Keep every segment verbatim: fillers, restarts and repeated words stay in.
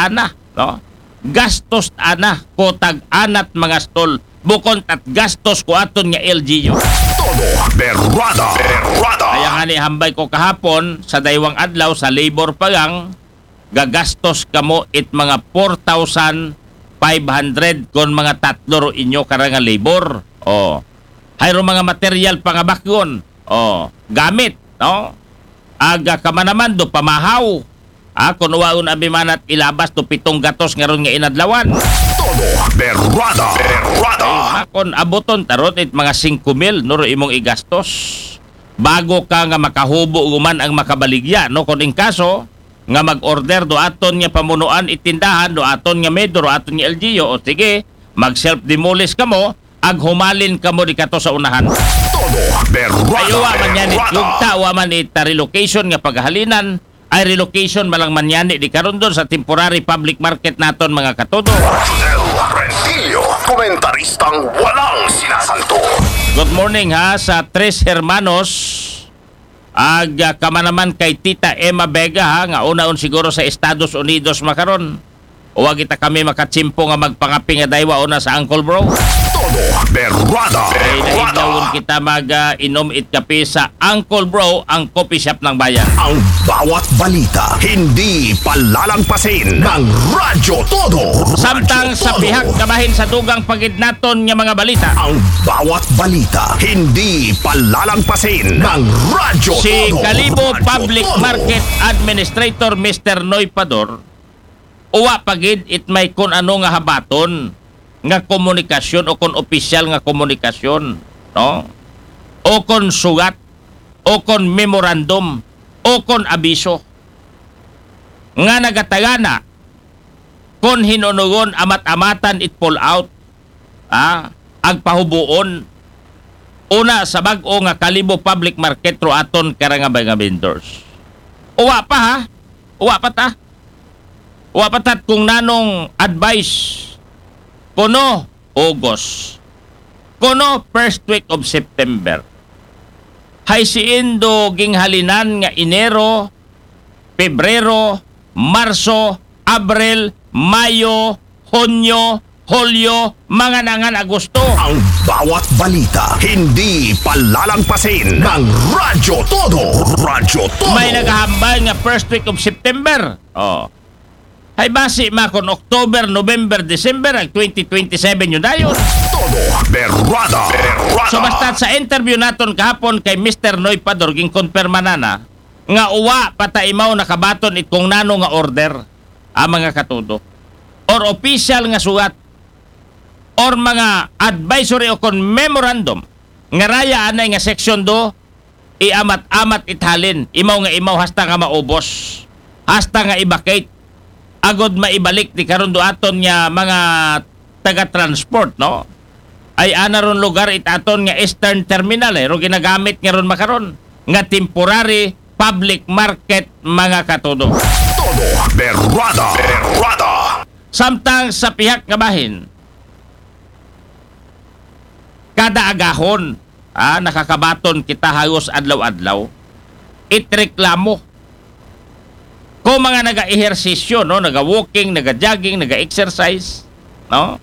ana, no? Gastos ana ko tag-anat mga stall, bukon tat gastos ko aton nga L G U. Todo berrada, berrada. Kaya nga ni hambay ko kahapon sa daywang adlaw sa labor pa lang, gagastos kamo it mga four thousand five hundred kon mga tatlo ro inyo kara nga labor. Oh. Hayro mga material pangabakyon. Oh, gamit, no? Aga ka man naman do pamahaw. Ah, kung waon abi manat ilabas to pitong gatos nga ron nga inadlawan. Todo berrada, berrada. Ay, kon abuton tarot it mga singko mil no ro imong igastos. Bago ka nga makahubo guman ang makabaligya, no? Kung in kaso nga mag-order do aton nga pamunuan itindahan, do aton nga mayor, do aton nga L G U, o sige, mag self-demolish kamo, ag humalin kamo di kato sa unahan. Todo berrada. Ay, wa man yan, berrada. Yugta, wa man ita relocation nga paghalinan, ay relocation malang man yan di karon doon sa temporary public market naton, mga katodo. Del Rentillo, komentaristang walang sinasanto. Good morning ha, sa Tres Hermanos. Ag, ah, kama naman kay Tita Emma Vega, ha, nga unaon siguro sa Estados Unidos makaron. Wa kita kami makatsimpo nga magpangapi nga daywa una sa Uncle Bro. Todo berrada. Ay, berrada. Naidlawon kita mag, ah, inom it kape sa Uncle Bro, ang coffee shop ng bayan. Ang bawat balita, hindi palalangpasin ng Radyo Todo. Samtang Radyo sa Todo. Pihak kabahin sa dugang pagid naton nga mga balita. Ang bawat balita, hindi palalangpasin ng Radyo Si Todo. Kalibo Radyo Public Todo. Market Administrator, Mister Noy Pador, uwa pa gid it may kun ano nga habaton nga komunikasyon o kon opisyal nga komunikasyon, no? O kon sugat, o kon memorandum, o kon abiso nga nagatagana kon hinunugon amat-amatan it pull out, ah, agpahubuon una sa bag-o nga Kalibo Public Market ro aton kara nga mga vendors. Uwa pa ha? Uwa pa ta? Uwa pa tat kung nanong advice kuno August, kuno first week of September. Hay siin do ginghalinan nga Enero, Pebrero, Marso, Abril, Mayo, Hunyo, Hulyo, mga nangan Agosto. Ang bawat balita, hindi palalangpasin ng Radyo Todo. Radyo Todo. May naghahambal nga first week of September. Oh. Hay basi ma kon October, November, December, ag twenty twenty-seven yun dayon. Todo berrada, berrada. So basta sa interview naton kahapon kay Mister Noy Pador, ginkonperma na na nga uwa pa ta imaw nakabaton it kung nano nga order, ah, mga katodo, or official nga sugat, or mga advisory o kon memorandum nga raya anay nga section do, iamat-amat it halin, imaw nga imaw hasta nga maubos, hasta nga i-vacate, agod maibalik di karon do aton nga mga taga-transport, no? Ay ana ron lugar it aton nga Eastern Terminal, eh, ro ginagamit nga ron makaron nga temporary public market, mga katodo. Todo berrada, berrada. Samtang sa pihak nga bahin, kada agahon, ah, nakakabaton kita halos adlaw-adlaw it reklamo ko mga naga-ehersisyo, no, naga-walking, naga-jogging, naga-exercise, no,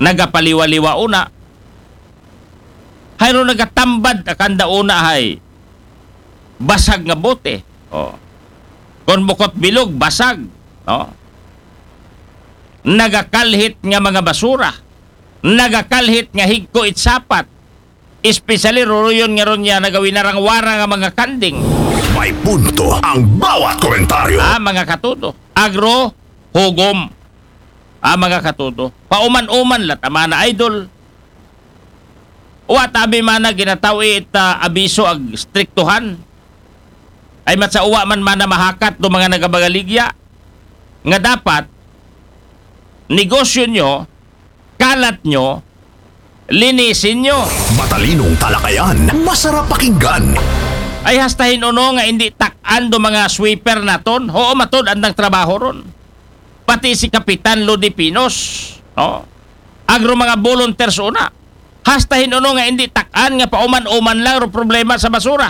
nagapaliwa-liwa una. Hayro nagatambad akanda una hay basag nga bote. Oh. Kon bukot bilog, basag, no? Nagakalhit nga mga basura, nagakalhit nga higko it sapat, especially ruruyon nga ron niya nagawinarang-wara nga mga kanding. May punto ang bawat komentaryo. Ah, mga katodo. Agro, hugom. Ah, mga katodo. Pauman-uman lat, amana idol. Uwa tabi mana ginatawi it, ah, abiso ag striktuhan. Ay mat sa uwa man mana mahakat do mga nagabagaligya nga dapat negosyo nyo, kalat nyo, linisin nyo. Matalinong talakayan, masarap pakinggan. Ay hasta hinuno nga hindi takan do mga sweeper naton. Oo, matod andang trabaho ron. Pati si Kapitan Lodi Pinos, no? Agro mga volunteers una. Hasta hinuno nga hindi takan nga pauman-uman lang ro problema sa basura.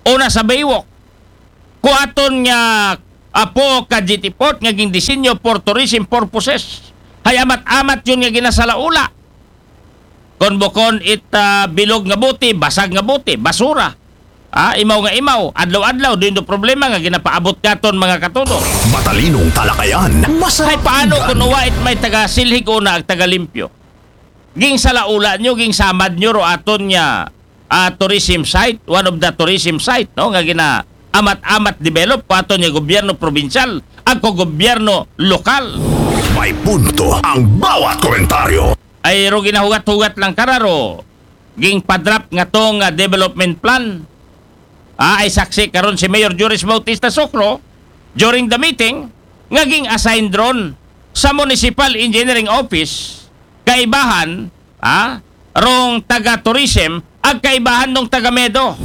Una sa baywok. Kuaton nga Apo ka Jetty Port nga gingdisenyo for tourism purposes. Hay amat-amat yun nga ginasalaula. Kon bukon it ah, bilog nga buti, basag nga buti, basura. Ah, imaw nga imaw, adlaw-adlaw, din do problema nga ginapaabot katon mga katudo. Matalinong talakayan, Hay masarap paano pakinggan. Kung uwa it may taga silhig una ag taga limpyo? Ging salaula nyo, ging samad nyo ro aton nga ah, tourism site, one of the tourism site, no, nga gina amat-amat develop ko aton nga gobyerno probinsyal, ag ko gobyerno lokal. May punto ang bawat komentaryo. Ay ro ginahugat-hugat lang kararo. Ging padrap nga tong ah, development plan. Ah, ay saksi karon si Mayor Juris Bautista Socro during the meeting nga ging assign ron sa Municipal Engineering Office kaibahan, ah, rong taga tourism ag kaibahan nung taga medo.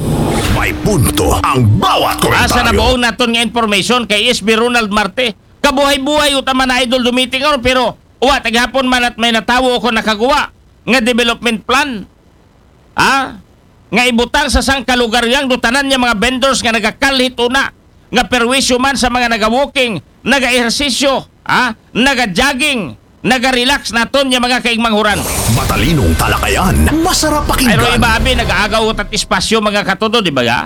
May punto ang bawat Asa na komentaryo. buong naton nga information kay S B Ronald Marte. Kabuhay-buhay uta man na idol dumiting ron, pero uwa taghapon man at may natawo ko nakaguwa nga development plan. Ha? Nga ibutang sa sangka lugar yang dutanan niya mga vendors nga nagakalhit una, nga perwisyo man sa mga naga-walking, naga-ehersisyo, ha? Naga-jogging, naga-relax naton niya mga kaigmanghuran. Matalinong talakayan, masarap Ay ro pakinggan. Iba abi nag-aagaw tat espasyo mga katudo, di ba ga?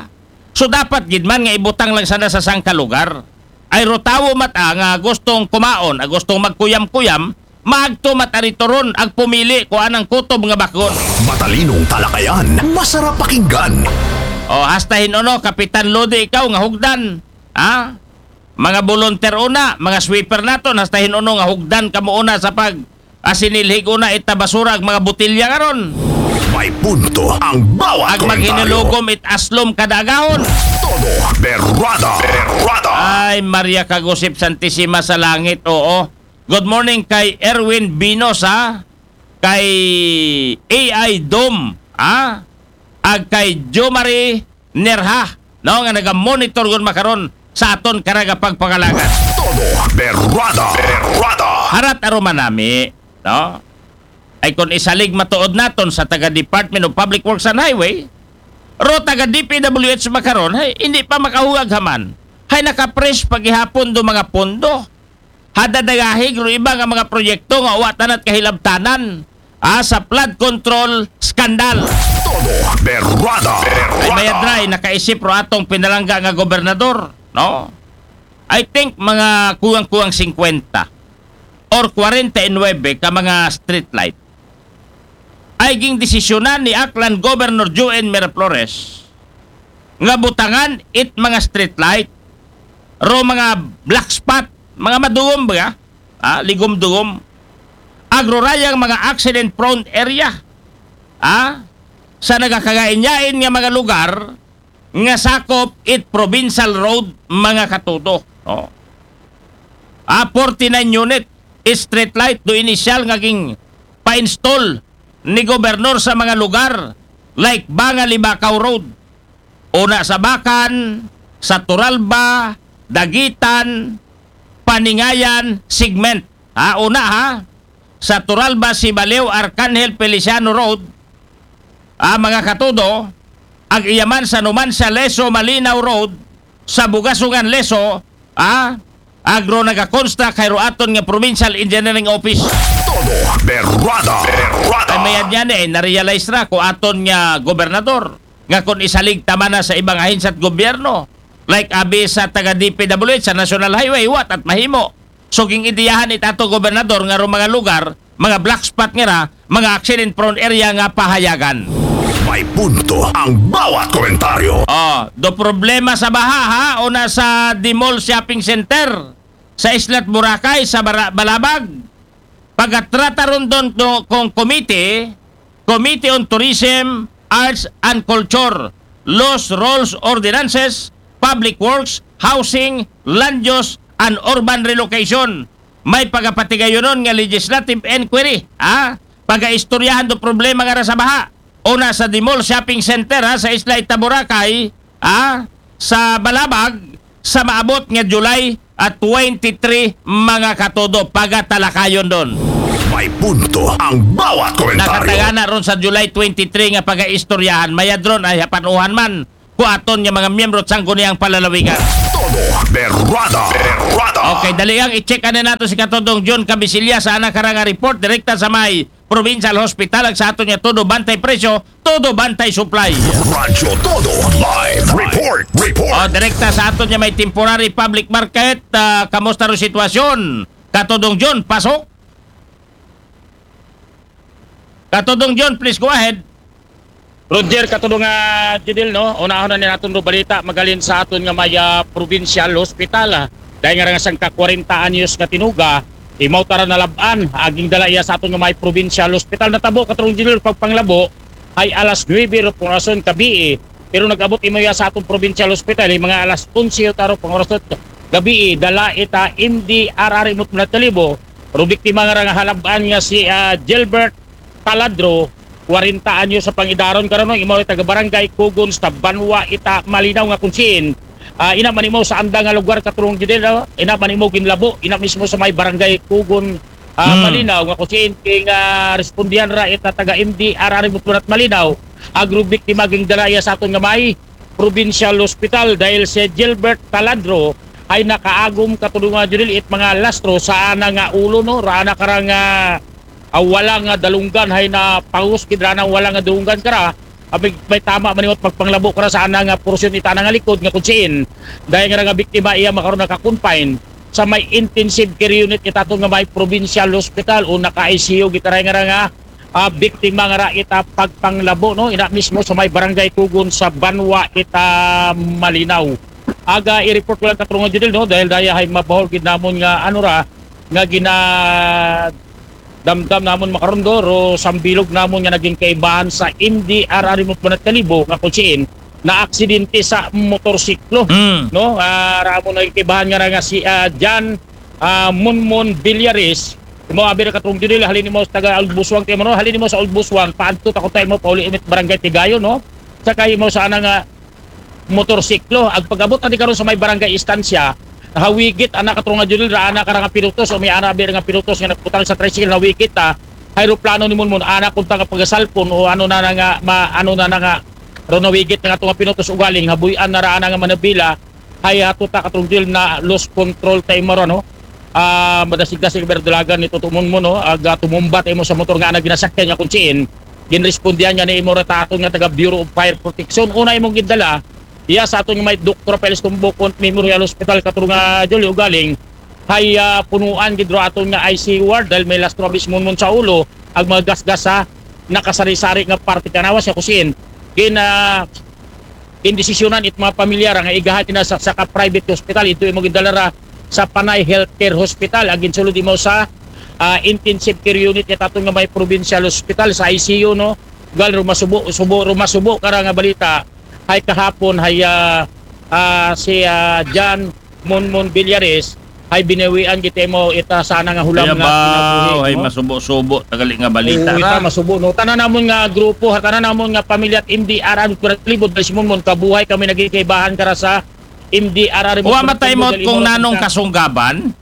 So dapat gid man nga ibutang lang sana sa sangka lugar. Ay ro tawo mat ah, nga gustong kumaon, ah, gustong magkuyam-kuyam, maagto mat aritoron ag pumili ko anang kutob nga bakgon. Matalinong talakayan, masarap pakinggan. O hasta hinuno, Kapitan Lodi, ikaw nga hugdan, ha? Mga volunteer una, mga sweeper naton, hasta hinuno nga hugdan kamo una sa pag asinilhig una ita basura ag mga botilya karon. May punto ang bawat Ag komentaryo. Maghinulugom it aslom kada agahon. Todo berrada. Berrada. Ay, Maria Kagusip Santisima sa langit, oo. Good morning kay Erwin Binos, ha? Kay A I Dom, ha? Ag kay Jomari Nerha, no? Nga naga-monitor gun makaron sa aton karaga pagpangalagan. Todo berrada. Berrada. Harat aruman nami, no? Ay kung isalig matuod naton sa taga Department of Public Works and Highway, ro taga D P W H makaron, hay, hindi pa makahugag haman. Hay nakapress paghihapon do mga pondo. Hadadagahig ro iba nga mga proyekto nga uwa tanat kahilabtanan. Ah, sa flood control scandal. Todo berrada. Ay Berrada. mayadray, nakaisip ro atong pinalangga nga gobernador, no? I think mga kuwang-kuwang singkwenta or kwarenta y nuwebe ka mga street light ay ging desisyonan ni Aklan Governor Joen Miraflores nga butangan it mga street light ro mga black spot, mga madugom ba? Ah, ligom-dugom. Agrorayang mga accident prone area. Ah, sa nagakagainyain nga mga lugar nga sakop it provincial road mga katudo. Oh. Ah, forty-nine unit street light do inisyal nga ging pa-install ni gobernador sa mga lugar like Banga Libacao Road, una sa Bacan, sa Turalba, Daguitan, Paningayan segment. Ha, una ha, sa Turalba, Sibaliw, Arcangel Feliciano Road, ah, mga katudo, ag iyaman sa Numancia, Lezo, Malinao Road, sa Bugasungan, Lezo, ah, agro nagakonstruct kay ro aton nga Provincial Engineering Office. Todo berrada. Berrada. Ay mayad niya ni, eh, na-realize ra ko aton nga gobernador nga kung isalig tama na sa ibang ahensya at gobyerno, like abi sa taga D P W H sa National Highway, what at mahimo. So ging ideyahan it ato gobernador nga ro mga lugar, mga black spot nga ra, mga accident prone area nga pahayagan. May punto ang bawat komentaryo. Oh, do problema sa baha ha, una sa The Mall Shopping Center sa Isla Boracay sa Bara- Balabag. Pagatrata ron don to, kong committee, Committee on Tourism, Arts and Culture, Laws, Rules, Ordinances, Public Works, Housing, Land Use, and Urban Relocation. May pagapatigayonon nga legislative inquiry, ha? Pagaistoryahan do problema nga ra sa baha. Una sa The Mall Shopping Center, ha, sa Isla Ita Boracay, ha, sa Balabag, sa maabot nga July at twenty-three mga katudo, pagatalakayon don. May punto ang bawat komentaryo. Nakatagana ron sa July twenty-three nga pagaistoryahan, mayad ron ay hapanuhan man kuaton nga mga miyembro at sangguniang palalawigan. Todo Berrada. Berrada. Okay, dali ang i-check na nato si Katudong John Cabisillas sa ana karang report direkta sa may Provincial Hospital. Ang sa aton nga todo bantay presyo, todo bantay supply. Radyo Todo Live Report. Report. O, direkta sa aton nga may temporary public market. Ah, kamusta ro sitwasyon? Katudong John, pasok. Katudong John, please go ahead. Roger, katudong nga Judel, no? Unahon na ni naton ro balita magalin sa aton nga may, ah, provincial hospital, ah. Dahil nga nga sangka kwarenta anyos nga tinuga, imaw tara nalab-an, aging dala iya sa aton nga may provincial hospital. Natabo, katudong Judel, pagpanglabo, ay alas nuebe ro pang orason kabii. Pero nag-abot imaw iya sa aton provincial hospital, ay mga alas onse taro pang orason gabii, dala ita M D R R imot na talibo, ro biktima nga ra nga halab-an nga si, ah, Gilbert Taladro, kwarenta anyos sa pangidaron karano, imaw taga Barangay Kugon sa Banwa ita Malinaw nga kunsiin. Ah, ina man imaw sa anda nga lugar katudong Judel, no? Ina man imaw ginlabo, ina mismo sa may Barangay Kugon, ah, Hmm. Malinaw nga kunsiin king, ah, respondihan ra ita taga M D R R Butunat Malinaw, agro biktima ging dala iya sa aton nga may provincial hospital dahil si Gilbert Taladro ay nakaagom katudong nga Judel it mga lastro sa ana nga ulo, no? Ra ana karang, ah, ah, wala nga dalunggan hay na pangos gid ra ana wala nga dalunggan kara. Abi, may tama man imot pagpanglabo kara sa ana nga porsyon ita ana nga likod nga kunsiin. Dahil nga ra nga biktima iya makaron naka-confine sa may intensive care unit ita aton nga may provincial hospital o naka-I C U gid ra nga ra nga, ah, biktima nga ra ita pagpanglabo, no? Ina mismo sa may Barangay Kugon sa Banwa ita Malinaw. Aga i-report ko lang katudong nga Judel, no? Dahil daya hay mabahol gid namon nga ano ra nga gina damdam namon makaron do, ro sambilog namon nga naging kaibahan sa M D R R imot na talibo nga kunsiin na aksidente sa motorsiklo, Mm. no? Ah, ra mo naging kaibahan nga ra nga si, ah, Jan, ah, Munmun Villares. Imo abi ra katudong Judel, halin imo sa taga Old Buswang, ti imo, no? Halin imo sa Old Buswang, paadto ta ko ta imo pauli imit Barangay Tigayon, no? Sa kay imo sa ana nga motorsiklo. Ag pag-abot na di karon sa may barangay Estancia, hawigit ana katudong nga Judel, ra ana kara nga pinutos o may ana abi ra nga pinutos nga nagbutang sa tricycle, hawigit ta. Hay eroplano ni Munmun, ana kunta nga pagasalpon o ano na na nga, ma, ano na na nga, ro nawigit na nga tunga pinutos ugaling, habuy-an na ra ana nga manabila, hay ato ta katudong Judel na lost control ta imo ra, no? Ah, madasig-dasig berdulagan ni Tuto Munmun, no? Aga tumumba ta imo sa motor nga ana ginasakyan nga kunsiin. Ginrespondihan nga ni imo ra ta aton nga taga Bureau of Fire Protection. Una imong gindala, iya sa aton nga may Doktor Rafael Stumbo Memorial Hospital katudong nga Judel ugaling. Hay, ah, punuan gid ro aton nga I C U ward dahil may lastro abi si Munmun sa ulo, ag mga gasgas sa nakasari-sari nga parte kanawa sa kusin. Gin, ah, gindesisyonan it mga pamilya ra nga igahan na sa, sa ka-private hospital, ito imo gindala ra sa Panay Healthcare Hospital, ag ginsulod imo sa, ah, intensive care unit ita aton nga may provincial hospital sa I C U, no? Gal rumasubo, subo, rumasubo kara nga balita, hay kahapon, hay, ah, ah, si, ah, Jan Munmun Villares, hay binawian gid imo ita sa ana nga hulam Kaya nga ba, kinabuhi, ay, no? Masubo-subo, tagali nga balita Oo, ita ra. Masubo, no? Tanan namon nga grupo, ha, tanan namon nga pamilya at M D R R, Kuratlibo, dahil si Munmun, kabuhay kami naging kaibahan kara sa M D R R. Wa matay mo dahil kung imo nanong ka- kasunggaban?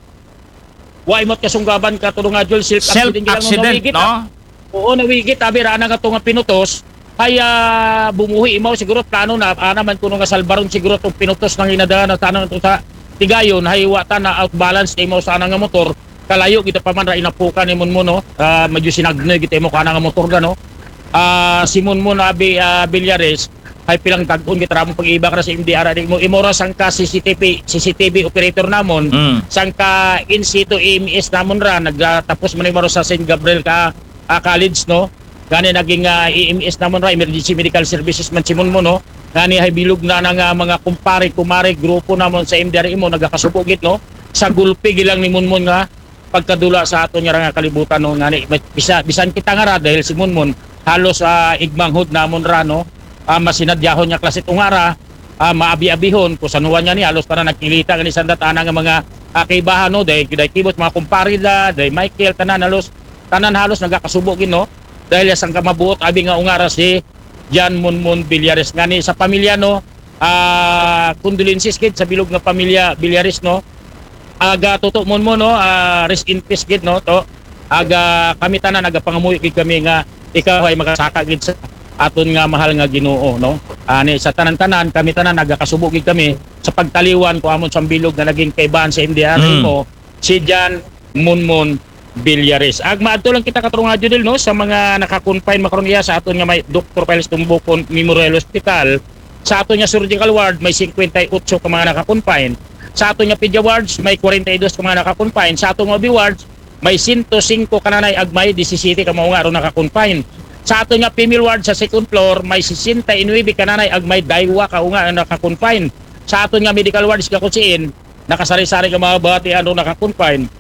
Wa imot kasunggaban katudong nga Judel, self-accident, Self-accident, no? Nawigit, ah. Oo, nawigit, abi ra ana nga tunga pinutos. Hay, ah, bumuhi imaw siguro plano na, ana man kuno nga salbaron siguro tong pinutos nga ginadala na tanan to sa Tigayon, hay wa ta na out balance na imaw sa ana nga motor. Kalayo gid pa man ra inapukan ni Munmun, no? Ah, medyo sinagnoy gid imo kana nga motor ga, no? Ah, si Munmun abi, ah, Villares, hay pilang tag-on gid ra mo pag-iba kara sa M D R R imo, imo ra sangka C C T V, C C T V operator namon, Mm. sangka in situ E M S namon ra, nagtapos man imo ra sa Saint Gabriel ka, ah, College, no? Gani naging, ah, E M S namon ra, Emergency Medical Services man si Munmun, no? Gani hay bilog na na nga mga kumpare, kumare, grupo namon sa M D R imo, nagakasubo gid, no? Sa gulpi gilang ni Munmun nga pagkadula sa aton nga ra nga kalibutan, no? Ngani, bisa-, bisan kita nga ra, dahil si Munmun, halos, ah, igmanghod namon ra, no? Ah, masinadyahon nga klase tunga ra, ah, maabi-abihon, kusanuan nga ni, halos tanan nagkilita nga ni sandat ana nga mga, ah, kaibahan, no? Dahil, dahil kibot, mga kumpare da, dahil Michael, tanan halos, tanan halos nagakasubo gid, no? Dahil sang kamabuot, abi nga ungara si Jan Munmun Villares. Ngani sa pamilya, no, ah, condolences gid sa bilog nga pamilya Villares, no. Aga Tuto Munmun, no, ah, rest in peace gid, no, to. Aga kami tanan, aga pangamuyo gid kami nga ikaw ay makasaka gid sa aton nga mahal nga Ginoo, no. Ani, sa tanan-tanan, kami tanan, nagakasubo gid kami sa pagtaliwan ko amon sa bilog nga naging kaibahan sa M D R A Mm. mo, si John Munmun Villares. Ag maadto lang kita, katarunga Judel, no, sa mga naka-confine makaron iya sa aton nga may Doktor Piles Tumbukon Memorial Hospital. Sa aton nga surgical ward, may singkwenta y otso ka mga naka-confine. Sa aton nga pedia wards, may kwarenta y dos ka mga naka-confine. Sa aton nga O B wards, may sento singko ka nanay ag may disisiyete ka maunga ro naka-confine. Sa aton nga female ward sa second floor, may sesenta y nuebe ka nanay ag may daywa ka unga ang naka-confine. Sa aton nga medical ward sa Kakutsiin, nakasari-sari ka mga batian ro naka-confine.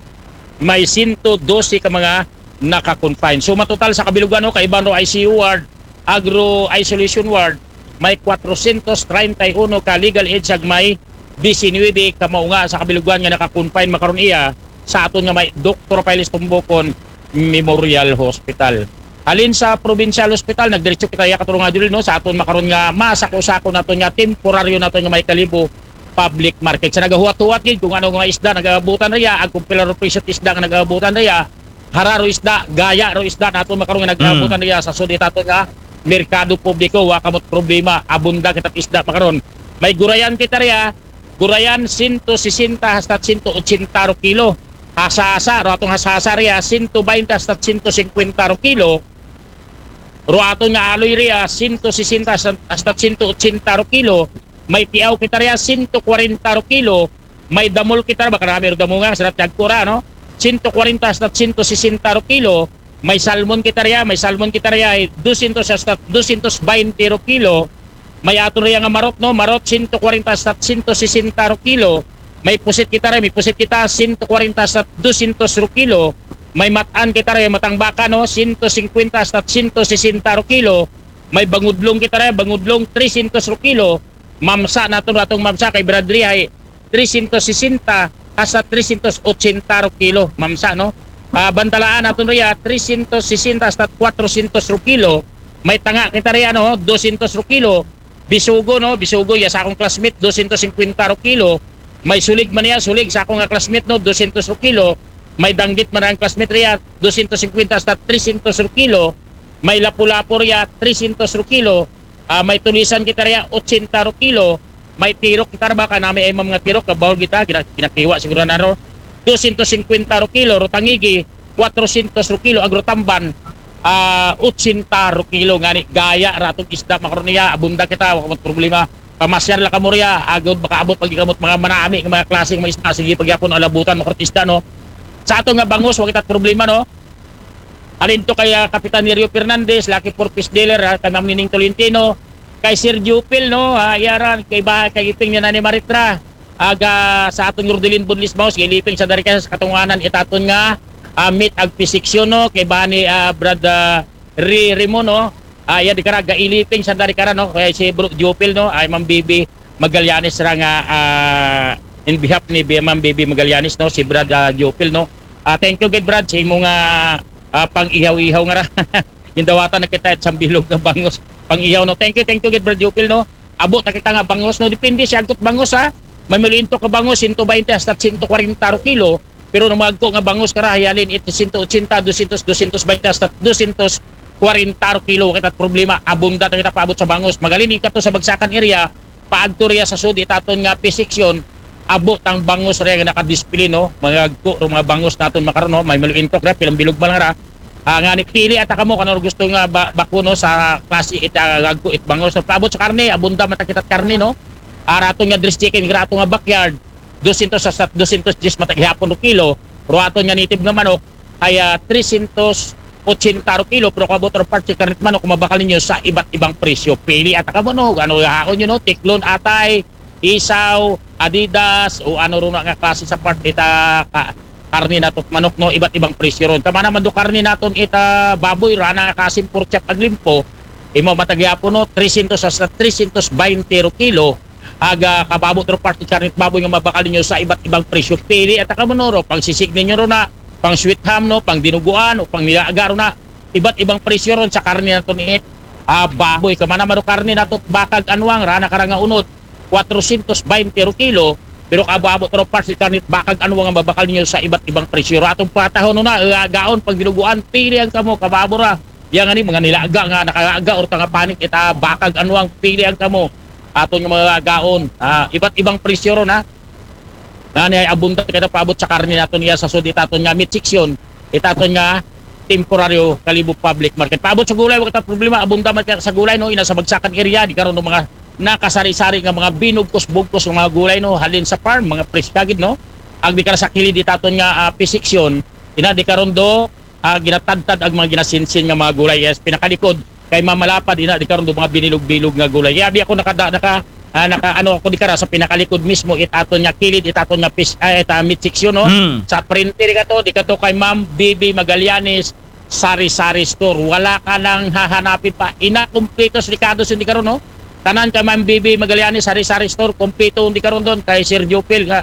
May sento dose ka mga naka-confine. So, matotal sa kabilugan, no, kaiban ro I C U ward, agro isolation ward, may kwatrosyentos treinta y uno ka legal age ag may disinuybe ka maunga sa kabilugan nga naka-confine makaron iya sa aton nga may Doktor Piles Tumbukon Memorial Hospital. Halin sa Provincial Hospital, nagdiretso kita iya, katarunga Judel, no, sa aton makaron nga masako-sako naton nga temporaryo naton nga may Kalibo Public Market. Sa nagahuwat-huwat gid kung ano nga isda nagaabutan riya, ag kung pila ro presyo isda nga nagaabutan riya, hara ro isda, gaya ro isda naton makaron nga nagaabutan riya sa sud it aton nga merkado publiko, wa kamot problema, abunda kita isda makaron. May gurayan kita riya, gurayan sento sesenta hasta sento otsenta ro kilo. Hasa-hasa, ro atong hasa-hasa riya, sento baynte hasta sento singkwenta ro kilo. Ro aton nga aloy riya, sento sesenta hasta, hasta sento otsenta ro kilo. May tiaw kita riya, sento kwarenta ro kilo. May damol kita, baka nami ro damonga, sarap tiyagkura, no? Sento kwarenta hasta sento sesenta ro kilo. May salmon kita riya, may salmon kita riya, ay dosyentos hasta dosyentos baynte ro kilo. May aton riya nga marot, no? Marot, sento kwarenta hasta sento sesenta ro kilo. May pusit kita riya, may pusit kita, sento kwarenta hasta dosyentos ro kilo. May matan kita riya, matang baka, no? Sento singkwenta hasta sento sesenta ro kilo. May bangudlong kita riya, bangudlong, tresyentos ro kilo. Mamsa naton, atong mamsa kay Brad riya, ay tresyentos sesenta hasta tresyentos otsenta ro kilo, mamsa, no? Ah, bantalaan naton riya, tresyentos sesenta hasta kwatrosyentos ro kilo. May tanga kita riya, no, dosyentos ro kilo. Bisugo, no, bisugo, iya sa akong classmate, dosyentos singkwenta ro kilo. May sulig man iya, sulig sa akong nga classmate, no, dosyentos ro kilo. May danggit man ang classmate riya, dosyentos singkwenta hasta tresyentos ro kilo. May lapu-lapu riya, tresyentos ro kilo. Ah, may tulisan kita riya, otsenta ro kilo. May tirok kita ra ba, ka nami ay mga tirok, kabawol kita, gina-, ginakiwa siguro na ro. Dosyentos singkwenta ro kilo, ro tangigi, kwatrosyentos ro kilo, ag ro tamban, ah, otsenta ro kilo, ngani gaya ra atong isda makaron iya, abunda kita, wa kamot problema. Pamasyar la kamo riya, agod makaabot pag ikamot mga manami, mga klase nga mga isda, sige pagyapon alabutan, makaron isda, no? Sa ato nga bangus, wa kita problema, no? Halin to kay, ah, Kapitan Nerio Fernandez, Lucky Four Fish Dealer, ah, kay Ma'am Nining Tolentino, kay Sir Jupil, no, ah, iya ra, kay ba, kay iping niya na ni Maritra, aga sa aton Rodelin Bunlis Maus, kay iliping sa dari ka sa katunganan, it aton nga, ah, meet ag pisiksyon, no, kay ba ni, ah, Brad, ah, Ri-, Rimo, no, ah, iya di kara, gailiping sa dari kara, no, kay si Bro Jupil, no, ay Ma'am Bibi Magallanes ra nga, ah, in behalf ni Bi-, Ma'am Bibi Magallanes, no, si Brad, ah, Jupil, no. Ah, thank you gid, Brad, sa imo nga, ah, pang-ihaw-ihaw nga ra. Gindawatan na kita sa bilog nga bangus. Pang-ihaw, no. Thank you, thank you gid, Brad Jupil, no. Abot na kita nga bangus, no. Depende siya agkot bangus, ha. May malinto ka bangus, sento baynte hasta sento kwarenta ro kilo. Pero nung magko nga bangus ka ra, hayalin, it sento otsenta, dosyentos, dosyentos baynte hasta dosyentos kwarenta ro kilo. Kita problema, abunda ta kita paabot sa bangus. Magalin, ikato sa Bagsakan area, paagto riya sa sud, it aton nga P section, abot ang bangus riya nga nakadisplay, no? Mga agko, ro mga bangus naton makaron, no? May maluintok ra, pilang bilog man lang ra. Ah, nga ni pili ata kamo, kano gusto nga ba, bako, no, sa klase it, ah, agko, it bangus. So, paabot sa karne, abunda man ta kita't karne, no? Ah, rato nga dress chicken, rato nga backyard, dosyentos hasta dosyentos diyes man ta gihapon ro kilo. Ro aton nga native nga manok, ay, ah, tresyentos otsenta ro kilo, pero kung abot ro part si karne't manok, kung mabakal ninyo sa iba't ibang presyo. Pili ata kamo, no? Ano haon nyo, no? Tiklon, atay, isaw, Adidas, o ano ro na nga klase sa part ita ka, karne nato't manok, no? Iba't ibang presyo ron. Tama naman do karne naton ita baboy, rana nga kasim, pork chop, ag limpo. Imo man ta gihapon, no? Tresyentos hasta tresyentos baynte ro kilo. Aga, kung abot ro part it karne't baboy nga mabakal ninyo sa iba't ibang presyo. Pili ata kamo, no, ro pang sisig ninyo ro na, pang sweet ham, no, pang dinuguan, o pang nilaga ro na. Iba't ibang presyo ron sa karne naton it, ah, baboy. Kung man naman ro karne nato't baka ag anwang, rana kara nga unod, kwatrosyentos baynte ro kilo, pero kung abot ro part it karne't baka ag anwang nga mabakal ninyo sa iba't ibang presyo. Ro atong patahon, no, na, eh, agaon, pang dinuguan, pili ang kamo, kung abot ra. Iya nga ni mga nilaga nga nakalaga or nga panic, ita bakag ano ang pili ang kamo. Aton nga mga gaon. Ah, iba't ibang presyo ron, ha. Ngani ay abunda kita paabot sa karne naton iya sa sud, itaton nga meat section, itaton nga temporaryo Kalibo Public Market. Paabot sa gulay, wala ta problema, abunda man kita sa gulay, no, ina sa bagsakan area, di karon no mga nakasari-sari nga mga binugkos-bugkos nga mga gulay, no, halin sa farm, mga fresh kagid, no. Ag di karon sa kilid itaton nga ah, fish section, ina di karon do ah, ginatadtad ang mga ginasinsin nga mga gulay. Yes, pinakalikod kay mamalapad ina di karon do mga binilog-bilog nga gulay. Kaya di ako nakada naka ah, naka ano ako di kara sa pinakalikod mismo, itaton nga kilid, itaton nga fish, ah, ita meat section, no? Hmm. Sa frente di kato, di kato kay Ma'am Bibi Magallanes Sari-Sari Store. Wala ka nang hahanapin pa. Ina, kumpleto sa Ricardo Sindicaro, no? Tanan kay Ma'am Bibi Magallanes Sari-Sari Store, kumpleto di karon don kay Sir Jopel nga.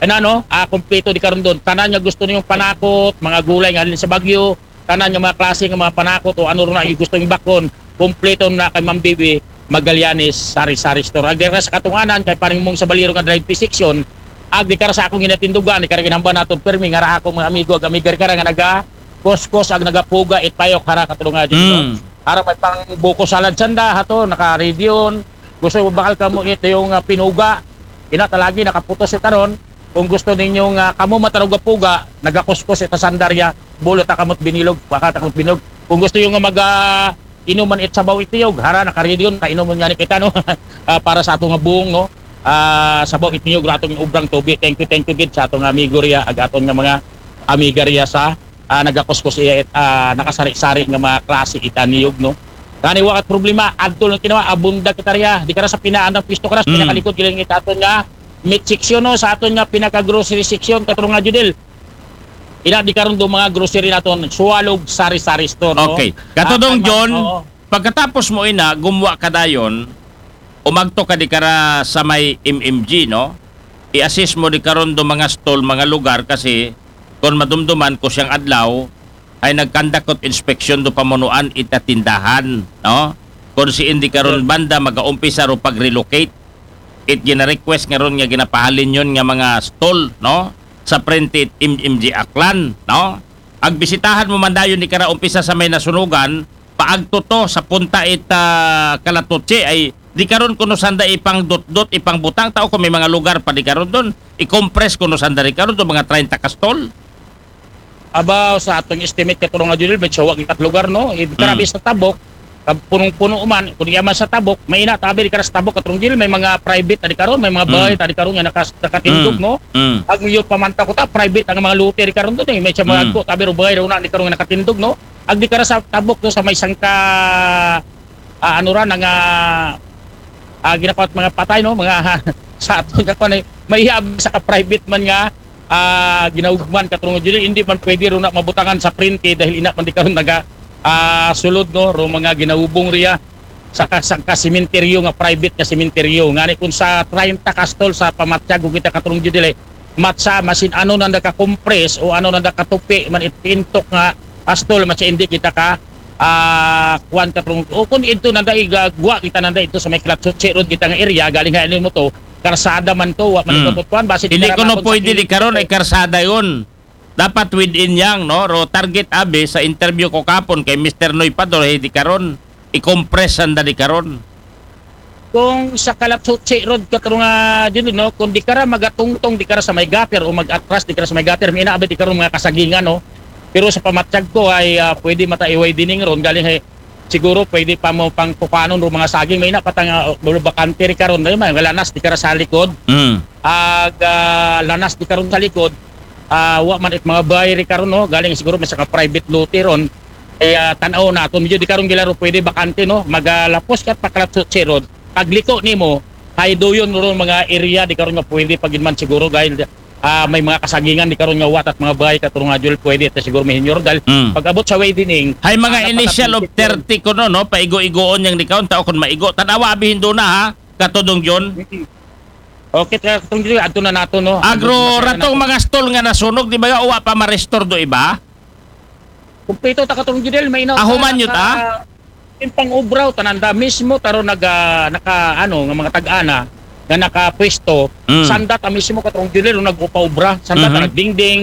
Ano, no? Ah, kumpleto di karon don. Tanan nga gusto niyong panakot, mga gulay nga halin sa Bagyo, tanan nga mga klase nga mga panakot o ano ron na yung gusto yung bakon, kumpleto na kay Ma'am Bibi Magallanes Sari-Sari Store. Ag dira sa katunganan kay paring mong sa Baliro nga drive section, ag di kara sa akong ginatindugan, di kara ginhamba nato permi nga ra akong mga amigo ag amiga di kara nga naga kuskos ag nagapuga it payok hara katulungan dito. Mm. Hara may pang buko salad sanda hato naka-ready yun. Gusto mo bakal kamo ito yung ah, pinuga. Ina talagi nakaputos ito ron. Kung gusto ninyo nga kamo matarog puga, nagakuskos ito sandarya, bulot ta kamot binilog, baka ta kamot binilog. Kung gusto yung nga mag ah, inuman it sabaw itiyog, hara naka-ready yun, kainuman nga ni kita, no? Ah, para sa atong nga buong, no? Ah, sabaw itiyog, ratong ubrang tubi. Thank you, thank you gid sa atong amigo riya, ag aton nga mga amiga riya sa ah, nagakuskos iya it ah, nakasari-sari nga mga klase ita niyog, no? Kani wakat problema, adto lang kinawa, abunda kita riya. Di kara sa pinaandang pwesto kara sa Mm. pinakalikod giling itaton nga meat section, no, sa aton nga pinaka grocery section katong nga Judel. Ina di karon do mga grocery naton, Suwalog Sari-Sari Store, no? Okay. Katudong Ah, John, oo. Pagkatapos mo ina, gumuwa ka dayon, umagto ka di kara sa may M M G, no? I-assist mo di karon do mga stall, mga lugar kasi kung madumduman ko siyang adlaw ay nagkandakot inspeksyon do pamunuan ita tindahan, no? Kung si hindi karon banda magaumpisa ro pag-relocate, it gina-request nga ron nga ginapahalin yun nga mga stall, no? Sa prente it M M G Aklan, no? Agbisitahan mo man dayon di kara umpisa sa may nasunugan, paagto to sa punta it ah, Kalatuchi ay di karon kuno sanda ipang dot-dot, ipang butang tao kung may mga lugar pa di karon doon. I-compress kuno sanda di karon doon mga treinta ka stall. Abaw sa atong estimate katong nga Judel, may sawa kita lugar, no? Grabe sa tabok, kab- punong-puno man, kung iya man sa tabok, may ina tabi di kara sa tabok katong Judel, may mga private na di karon, may mga bahay ta di karon nga nakas- nakatindog, no? Mm. Ang iyo pamanta ko ta private ang mga lote di karon doon eh, may siya mga Mm. agko tabi ro bahay ro na di karon nga nakatindog, no? Ag di kara sa tabok do sa may sangka ah, ano ra nga ah, ginakuha mga patay, no, mga sa ato nga kuan, may hiyab sa ka private man nga ah, ginahugman katong Judel, hindi man pwede ro na mabutangan sa prente dahil ina man di karon naga ah, sulod, no, ro mga ginahubong riya sa ka- sa ka sementeryo nga private nga sementeryo. Ngani kung sa treinta ka stall sa pamatyag kita katong Judel, matsa masin ano nanda ka compress o ano nanda ka tupi man itintok nga ah, stall, matsa hindi kita ka ah, kuan katong o kung ito nanda igagwa kita nanda ito sa may Kalatsutsi Road kita nga area, galing ha mo to, karsada man to, wa man Mm. ito kuan basi Hindi kita ko no mabot sa pwede di kilid. Karon ay karsada yun. Dapat within yang, no? Ro target abi sa interview ko kapon kay Mister Noy Pador, hey, di Karon. I-compress sanda di Karon. Kung sa Kalatsutsi Road katong nga Judel, no, kung di kara magatungtong di kara sa may gutter o mag-atras di kara sa may gutter, may inaabi di karon mga kasagingan, no. Pero sa pamatyag ko ay ah, pwede mata i-widening ron galing hay siguro pwede pa mo pang kukanon ro mga saging, may ina patang uh, bakante ri karon, may mga lanas di kara sa likod. Mm. Ag ah, lanas di karon sa likod, ah, wa man it mga bahay ri karon, no, galing siguro may sa ka private lote ron. Kaya tanaw naton, medyo di karon gilaro pwede bakante, no, magalapos ka pa Kalatsutsi Road, pagliko nimo, hay duyon ron mga area di karon nga pwede pagin man siguro dahil ah, may mga kasagingan di karon nga watat mga bahay katong nga Judel pwede ta siguro may hinyor dahil Mm. pag-abot sa widening, Hay mga ah, initial of napakapit yun. thirty ko no, no? Paigo-igoon yang di Karon, tao kung maigo. Tanawa abi hindo na ha, katudong John. Okay, katong Judel, adto na nato, no? Agro, Adto na ratong nato. Mga stall nga nasunog, di ba nga uwa pa ma-restore do iba? Kumpleto ta katong Judel, may inaw. Ah, human yun, ah? Yung pang-ubraw, tananda mismo, taro naga, naka, ano, nga mga tag-ana, nga nakapwesto, Mm. sanda ta mismo katong Judel, nag-upa-ubra, sanda ta Mhm. nagdingding,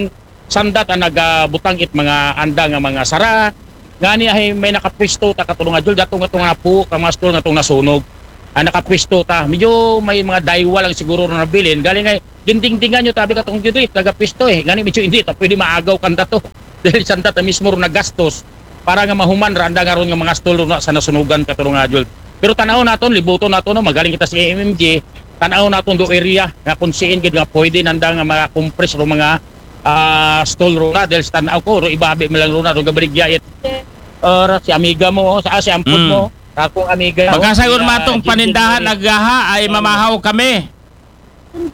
sanda ta nagabutang it mga anda nga mga sara, Ngani ay may nakapwesto ta, Katrunga Jul, datong, datong nga po, ka mga stall nga tong nasunog. Ah, nakapwesto ta. Medyo may mga daywa lang siguro na nabilin. Galing ay, gindingdingan nyo, tabi, Katrunga Jul, eh, taga pwesto eh. Ngani medyo hindi ta pwede maagaw kanda to. Dahil sanda ta mismo ron nagastos para nga mahuman ra anda nga ron nga mga stall ron na sa nasunugan, Katrunga Jul. Pero tanaw naton, libuton naton, no, magaling kita sa M M G, tanaw naton do area nga kung siin gid nga pwede nanda nga mga compress ro mga ah, stall ron na, dahil sa tanaw ko, ro ibabi mo lang ron na, ro gabaligya it. Ora, si amiga mo, sa, ah, si ampon Mm. mo, sa akong amiga. Baka oh, sayon si, ah, matong Gigi, panindahan Gigi. Agaha ay mamahaw kami.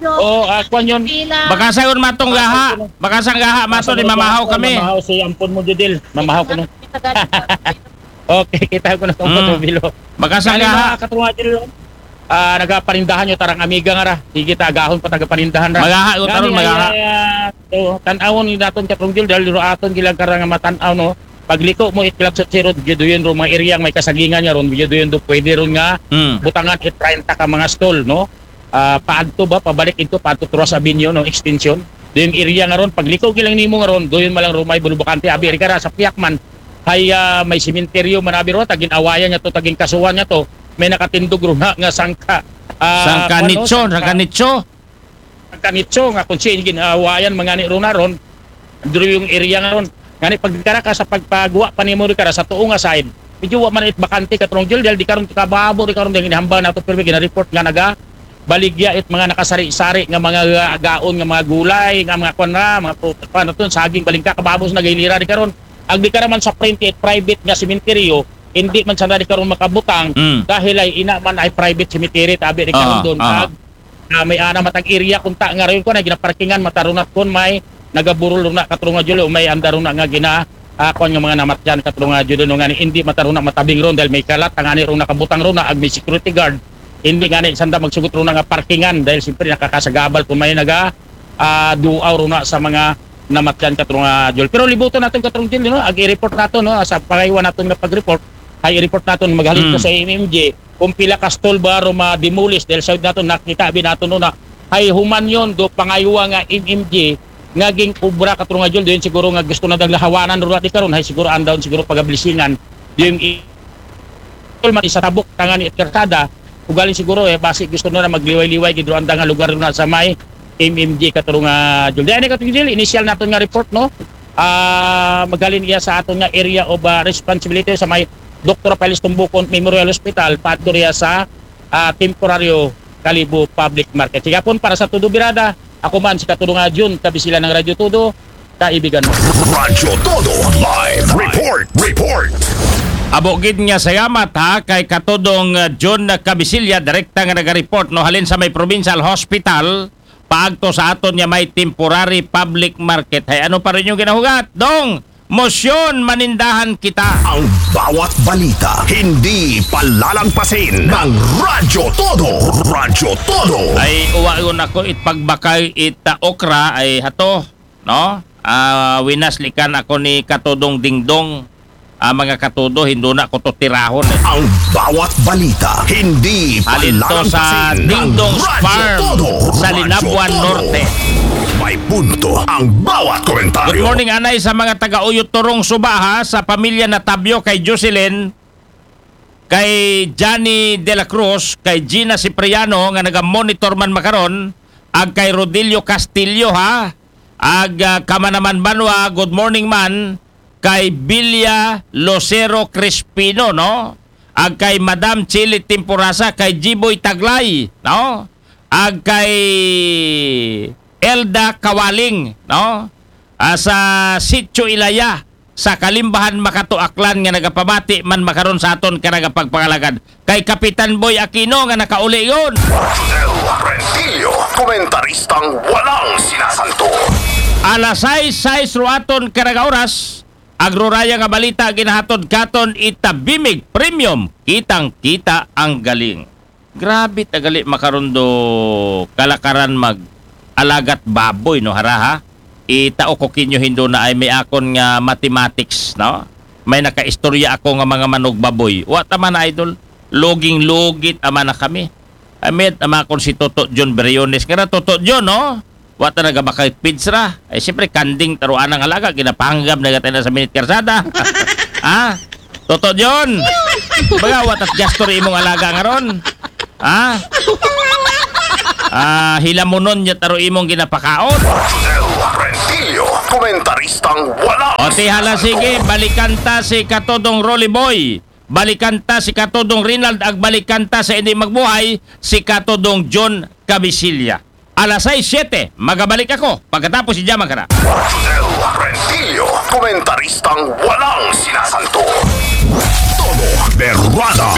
Oh, ah, kwan yun. Baka sayon matong gaha. Baka sang gaha mato ni mamahaw kami. Mamahaw si ampon mo, Judil. Mamahaw ko no. Okay, kita ko na itong Mm. Patubilo. Baka sang Kani gaha. Mga Katrunga Jul, ah, nagapanindahan nyo tarang amiga nga ra. Sige, tagahon pa tagapanindahan ra. Magaha, ko taron, Ngani, magaha. ay, ah, so, tanawon ni naton, Katrunga Jul, dahil ro aton gilang karang nga matanaw, no? Pagliko mo, itlak sa sirod, video yun, ro mga area may kasagingan nga ron, video yun, do pwede ron nga Mm. butangan it treinta ka mga stall, no? Ah, paadto ba, pabalik ito, paadto Turas Avenue, no? Extension. Do yung area nga ron, pagliko gilang nimo nga ron, do yun malang rumay, bulubakante, abi, rin ka ra, sa piyak man, hay, ah, may sementeryo, manabi ron, tagin awayan niya to, tagin kasuhan niya to, may nakatindog ron ha, nga sangka. Ah, Sangka ano, nicho, sangka nicho. Ang kanitso nga kung sino ginawayan mga ni ron na ron, duro yung area nga ron. Ngani pagkara ka sa pagpagawa pa nimo rin kara sa tuong nga side. Medyo wa man it bakante, Katrunga Jul, dahil di karon kababo, di karon dahil hinahambal nato, pero ginareport nga naga baligya it mga nakasari-sari nga mga gaon nga mga gulay, nga mga kwan na, mga prutas, kwan na to, saging, balingka, kababo sa nagahilira di karon. Ag di ka naman sa print it private nga sementeryo, hindi man sana di karon makabutang Mm. dahil ay ina man ay private cemetery, tabi di karon Aha, doon. aha. Ag, ah, may ana matag area kung ta nga rayon ko na ginaparkingan, matarunat kon may nagaburol ron na, Katrunga Jul, o may anda ron na nga gina, ah, kwan nga mga namatyan, Katrunga Jul, no, nga ni, hindi mataruna matabing ron dahil may kalat, ang ani ron nakabutang ron na, ag may security guard, hindi nga ni sanda magsugot ron na nga parkingan dahil siyempre nakakasagabal kung may naga, ah, duaw ron na sa mga namatyan, Katrunga Jul. Pero libuton naton, Katrunga Jul, no? Ag i-report naton, no? Sa pangaywan naton nga pag-report, ay i-report naton, maghalin to Mm. sa M M G kung pila ka stall ba ro ma-demolish dahil sa naton nakita bi naton, no, na ay human yon do pangaywa nga M M G nga ging obra, Katrunga Jul, doon siguro nga gusto na dang lahawanan ro di karon, hay siguro andaw siguro pagablisingan yung i-, man isa tabok tangan ni karsada, ugaling siguro eh basi gusto na magliway-liway gid ro anda nga lugar na sa may M M G, Katrunga Jul. Di ani, Katrunga Jul, initial naton nga report, no? Ah, magalin iya sa aton nga area of, ah, responsibility sa may Doktor Rafael Tumbukon Memorial Hospital, paadto riya sa, ah, temporaryo Kalibo Public Market. Sigapon para sa Todo Birada, ako man si Katrunga Jun, kabisila ng Radyo Todo, kaibigan mo. Radyo Todo Live Report. Report. Abo gid nga salamat ha kay Katudong, uh, John Cabisilya, direkta nga naga-report, no, halin sa may Provincial Hospital, paagto sa aton nga may temporary public market. Hay, ano pa rin yung ginahugat? Dong, motion, manindahan kita. Ang bawat balita, hindi palalagpasin ng Radyo Todo. Radyo Todo. Ay, uwa yun ako it pagbakay it, uh, okra ay hato, no? Ah, winaslikan ako ni Katudong Dingdong, ah, mga katudo, hindi na ko to tirahon eh. Ang bawat balita, hindi Halin to sa palalagpasin ng Dingdong's Radyo Farm Todo. sa Radyo Linabuan Todo. Norte. May punto ang bawat Good komentaryo. morning, anay, sa mga taga Uyot Turong Suba, ha, sa pamilya na Tabyo, kay Jocelyn, kay Johnny De La Cruz, kay Gina Cipriano nga naga-monitor man makaron, ag kay Rodilio Castillo, ha, ag, ah, Kamanaman Banwa, good morning man, kay Bilya Lucero Crispino, no? Ag kay Madam Chili Timporasa, kay Jiboy Taglay, no? Ag kay Elda Kawaling, no? Ah, sa Sitio Ilaya, sa Kalimbahan, Makato, Aklan, nga nagapamati man makaron sa aton ka nagapagpangalagad. Kay Kapitan Boy Aquino nga nakauli yun. Rodel Rentillo, komentaristang walang sinasanto. Alas sais, sais ruaton karaga oras, agruraya nga balita ginahatod katon ita Bimig Premium, kitang kita ang galing. Grabe tagali makaron do kalakaran mag alagat baboy, no, haraha. Itao ko kinyo hindo na ay may akon nga mathematics, no? May nakaistorya ako nga mga manog baboy. Wa ta man, idol, loging lugit ama na kami. Amit ama kon si Toto John Briones. Nga na Toto John, no? Wa ta nagabakay pids ra. Ay, siyempre, kanding taro anang alaga, ginapanggap na gatay na sa Minit Karsada. Ha? Toto John! Baga, wa ta't gasto ri imong alaga nga ron. Ha? Ah, hilamunon niya taro imong ginapakaon. Josel Rentillo, komentaristang walang O ti hala, sige, balikan ta si Katodong Rolly Boy. Balikan ta si Katodong Rinald, ag balikan ta sa hindi magbuhay, si Katodong John Cabisilla. Alas sais, siyete, magabalik ako pagkatapos si Jaman Kana. Josel Rentillo, komentaristang walang sinasanto. Todo Berwada.